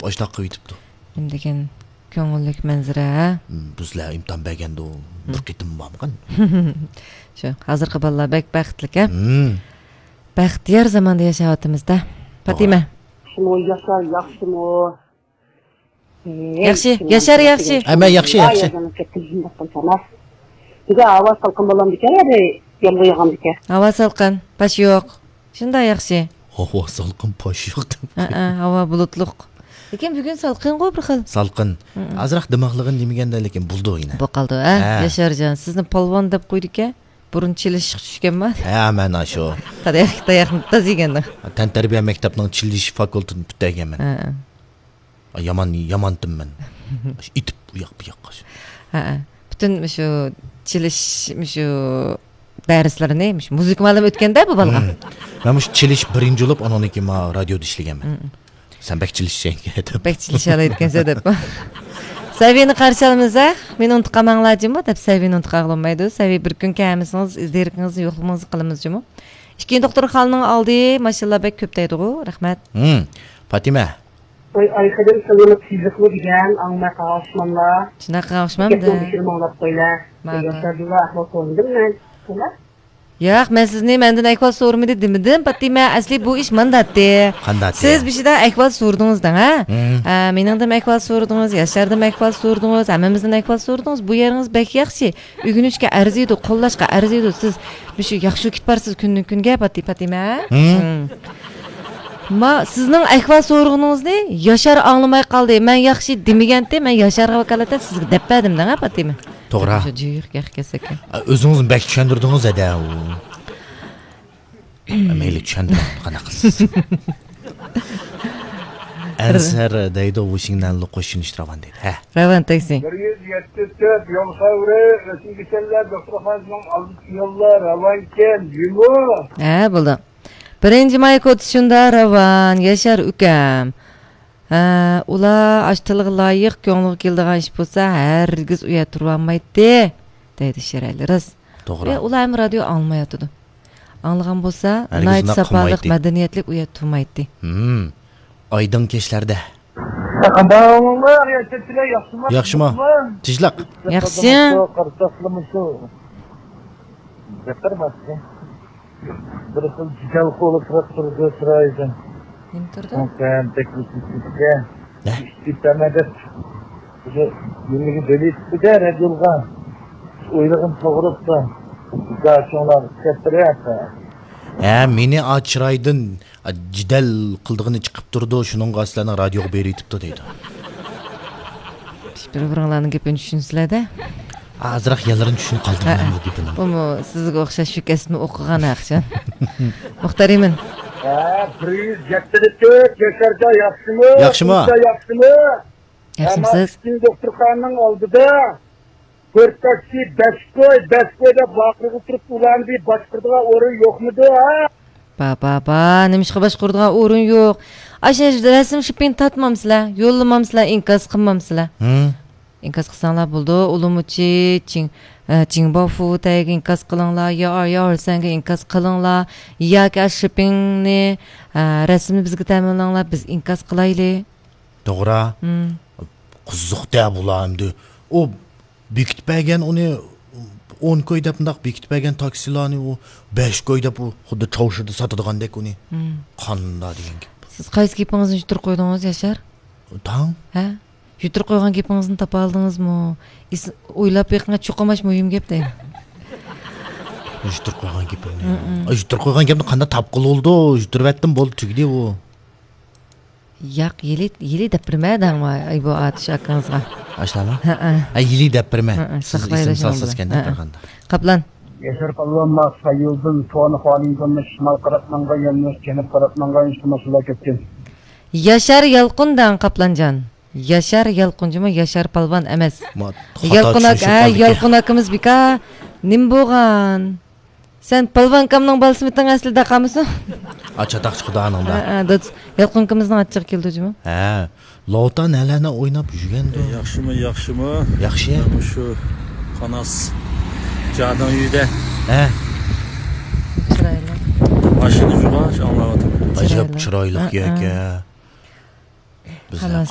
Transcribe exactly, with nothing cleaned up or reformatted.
باشلاپ قويۇۋېتىپتۇ. نېمە دېگەن كۆڭۈللۈك مەنزىرە، ھە؟ ھىم، بۇ سىلەر ئىمتىھان بەرگەندە بىر قېتىم بارمىغان. شۇ، ھازىرقى بالىلار بەك بەختلىك، ھە؟ ھىم. بەختىيار زاماندا ياشاۋاتىمىز-دە. پاتىمە. ياخشىمۇ، ياشار، ياخشىمۇ؟ ياخشى، ياشار، ياخشى. ھە، مەن ياخشى، ياخشى. بۈگۈن ھاۋا سالقىن بولامدىكەن، يا يامغۇر ياغامدىكەن؟ ھاۋا سالقىن، پاش يوق. شۇنداق ياخشى. ھاۋا سالقىن، پاش يوق دەپ. ھەئە، ھاۋا بۇلۇتلۇق. لېكىن بۈگۈن سالقىنغۇ بىر خىل. سالقىن. ئازراق دىماغلىغىن دېمىگەندە، لېكىن بولىدۇ يەنە. بولۇپ قالدى، ھە؟ ھە. ياشارجان، سىزنى پالۋان دەپ قويدىكەن. بۇرۇن چېلىشقا چۈشكەنما؟ ھە، مانا شۇ. تاياق، تاياقنى تاز يېگەندىڭ. تەنتەربىيە مەكتەپنىڭ چېلىش فاكۇلتېتىنى پۈتتۈرگەنمەن. ھە. يامان، يامانتىم مەن. ئېتىپ ئۇ ياق بۇ ياققا. ھە، ھە. پۈتۈن مۇشۇ چېلىش، مۇشۇ دەرسلىرىنى مۇشۇ مۇزىكا مۇئەللىمى ئۆتكەندە بۇ بالىغا. مەن مۇشۇ چېلىش بىرىنچى بولۇپ، ئانىڭدىن كېيىن ما رادىيودا ئىشلىگەنمەن. سەن بەك چېلىشچانكەن دەپ. بەك چېلىشالايدىكەنسەن دەپ. سەۋىينى قارشى ئالىمىز، ھە؟ مېنى ئۇنتۇپ قالماڭلار جۇمۇ دەپ سەۋىينى ئۇنتۇپ قالغىلى بولمايدۇ. سەۋىي بىر كۈن كەلمىسىڭىز، ئىز دېرىكىڭىزنى يوقلىمىڭىزنى قىلىمىز جۇمۇ. ئىككىنچى دوختۇرخانىنىڭ ئالدى ماشىنىلار بەك كۆپ دەيدىغۇ. رەھمەت. ھىم، پاتىمە. ۋاي، ئايقىدىن سىلىنىپ تېزلىكمۇ دېگەن، ئاڭلىماي قالغان ئوخشىماملا. شۇنداق قىلغان ئوخشىمامدۇ؟ گەپنىڭ بېشىنى ماڭلاپ قويلا. ماقۇل. ياشاردىلا ئەھۋال سورىدىم مەن. ياق، مەن سىزنى مەندىن ئەھۋال سورىمىدى دېمىدىم، پاتىمە. ئەسلى بۇ ئىش مانداتتى. قانداتتى؟ سىز بېشىدا ئەھۋال سورىدىڭىز دەڭ، ھە؟ ھە، مېنىڭدىن ئەھۋال سورىدىڭىز، ياشاردىن ئەھۋال سورىدىڭىز، ھەممىمىزدىن ئەھۋال سورىدىڭىز. بۇ يېرىڭىز بەك ياخشى. ئۆگىنىشكە ئەرزىيدۇ، قوللاشقا ئەرزىيدۇ. سىز مۇشۇ ياخشى كېتىپ بارسىز كۈندىن كۈنگە، پاتى-، پاتىمە. ھىم. ھىم. ما، سىزنىڭ ئەھۋال سورىغىنىڭىزنى ياشار ئاڭلىماي قالدى. مەن ياخشى دېمىگەنتى، مەن ياشارغا ۋاكالىتەن سىزگە دەپ بەردىم دەڭ، ھە، پاتىمە. توغرا. شۇ جىق ياق كەسەككە. ئۆزىڭىزنى بەك چۈشەندۈردىڭىز ھەدە. مەيلى، چۈشەندۈرۈڭ، قانداق قىلىسىز؟ ئەنسەر دەيدۇ، ۋۇشىڭنەنلۇ قوشۇن ئىش راۋان دەيدۇ. ھە. راۋان تاكسى. بىر يۈز يەتتە تۆت يول ساۋرى، رەسىم كېسەللەر دوختۇرخانىسىنىڭ ئالدىدا يوللار راۋانكەن، جۇمۇ. ھە، بولدى. بىرىنچى ماي كوتىسى شۇنداق راۋان، ياشار ئۇكام. ھە، ئۇلار ئاشۇ تىلغا لايىق، كۆڭلىگە كېلىدىغان ئىش بولسا، ھەرگىز ئۇ يەردە تۇرۇۋالمايتتى، دەيدۇ شېرەلى. راست. توغرا. ئۇلار ھەم رادىيو ئاڭلىماياتىدۇ. ئاڭلىغان بولسا، ھەرگىز ناھايىتى ئۇنداق ساپالىق، قىلمايتتى. مەدەنىيەتلىك ئۇ يەردە تۇرمايتتى. ھىم. ئايدىڭ كەچلەردە. قانداق ئەھۋالىڭلار؟ ياخشىمۇ؟ ياخشىمۇ؟ تىنچلىق. ياخشى. قارساقلىمىسۇ؟ بەتتەر ماستى. بىر خىل جېدەل قولى تۇرۇپ تۇرىدۇ چىرايىدا. نېمە تۇرىدۇ؟ ھە؟ ئىشتىپەمە دەپ. بىزى يېنىگە بېلىتىپتۇ-دە، رەدىيولغا. ئويلىغىنى توغرىپتۇ. گاچوڭلار كەتتىرەتتى. ھە، مېنى ئا چىرايدىن، ئا، جېدەل قىلىدىغىنى چىقىپ تۇرىدۇ، شۇنىڭغا سىلەرنىڭ رادىيوغا بېرىۋېتىپتۇ دەيدۇ. بىر-بىرىڭلارنىڭ گېپىنى چۈشىنىسىلەر-دە. ئازراق يانلىرىنى چۈشىنىپ قالدىم مەن بۇ گېپىنىڭ. بۇمۇ سىزگە ئوخشاش شۇ كەسىپنى ئوقۇغان ئەخشەن. مۇختەر ئىمىن. ھە، بىر يۈز يەتتە تۆت، ياشارجان ياخشىمۇ؟ ياخشىمۇ؟ ياخشىمۇ؟ ياخشىمسىز؟ ئەمما ئىككىنچى دوختۇرخانىنىڭ ئالدىدا تۆت تاكسى، بەش كوي، بەش كوي دەپ ۋارقىراپ تۇرۇپ، ئۇلارنى بىر باشقۇرىدىغان ئورۇن يوقمىدۇ، ھە؟ با، با، با، نېمىشقا باشقۇرىدىغان ئورۇن يوق؟ ئاشۇ رەسىم شىپىنى تارتمامسىلەر؟ يوللىمامسىلەر؟ ئىنكاس قىلمامسىلەر؟ ھىم. ئىنكاس قىلساڭلار بولىدۇ. ئۇلىمۇچى، چىڭ، ئە، چىڭباۋفۇ تەيگە ئىنكاس قىلىڭلار، يا، يا، ھارسەنگە ئىنكاس قىلىڭلار، ياكى ئاشۇ شىپىننى، ئە، رەسىمنى بىزگە تەمىنلەڭلار، بىز ئىنكاس قىلايلى. توغرا. ھىم. قىزىق-دە بۇلار ئەمدى. ئۇ بېكىتىپ بەرگەن ئۇنى ئون كوي دەپ مۇنداق بېكىتىپ بەرگەن تاكسىلارنى ئۇ بەش كوي دەپ ئۇ خۇددى چاۋشىدا ساتىدىغاندەك ئۇنى. ھىم. قانداق دېگەن گەپ. سىز قايسى گېپىڭىزنى يۈتتۈرۈپ قويدىڭىز، ياشار؟ تاڭ. ھە؟ يۈتتۈرۈپ قويغان گېپىڭىزنى تاپالىدىڭىزمۇ؟ ئېس-، ئويلاپ بېقىڭ، چوقۇم ئاشۇ مۇھىم گەپ دەيمەن. يۈتتۈرۈپ قويغان گېپىمنى. ھىم، ھىم. ئا، يۈتتۈرۈپ قويغان گەپنى قانداق تاپقىلى بولىدۇ؟ يۈتتۈرۈۋەتتىم، بولدى، تۈگىدى ئۇ. ياق، يىلى، يىلى دەپ بېرىمەن دەڭ، ئاي، بۇ ئاتۇش ئاكىڭىزغا. ئاشۇنداقمۇ؟ ھەئە. ھە، يىلى دەپ بېرىمەن. ھەئە، سىز ساقلايلى ئېسىم شۇنىڭ سالسىز بىلەن. ئىكەن ھەئە. قارىغاندا. قاپلان. ياشار پالۋان، ما سايولدىن سوئانخانىڭدىن شىمال قاراپ ماڭغان يانلىق، جەنۇب قاراپ ماڭغان ئىشتىماسلار كەتكەن. ياشار يالقۇن دەڭ، قاپلانجان. ياشار يالقۇنجىمۇ، ياشار پالۋان ئەمەس. ما، خاتا يالقۇن ئاكا، چۈشىنىشىپ ھە، قالدىكەن. يالقۇن ئاكىمىز بىكار. نېمە بولغان؟ سەن پالۋان ئاكامنىڭ بالىسىمىتىڭ ئەسلىدە قالمىسۇن؟ ئا، چاتاق چىقىدۇ ئانىڭدا. ھە، ھە، دوست. يالقۇن ئاكىمىزنىڭ ئاچچىقى كېلىدۇ جۇمۇ. ھە. لوتا نەلەرنى ئويناپ يۈرگەندۇ؟ ئە، ياخشىمۇ، ياخشىمۇ؟ ياخشى. مەن مۇشۇ قاناس جادىڭ يۈدە. ھە. چىرايلىق. ماشىنا جۇغاچ ئاڭلاۋاتىمەن. ئەجەب چىرايلىق. چىرايلىق ھە، يەكە. ھە. بىز خالاس،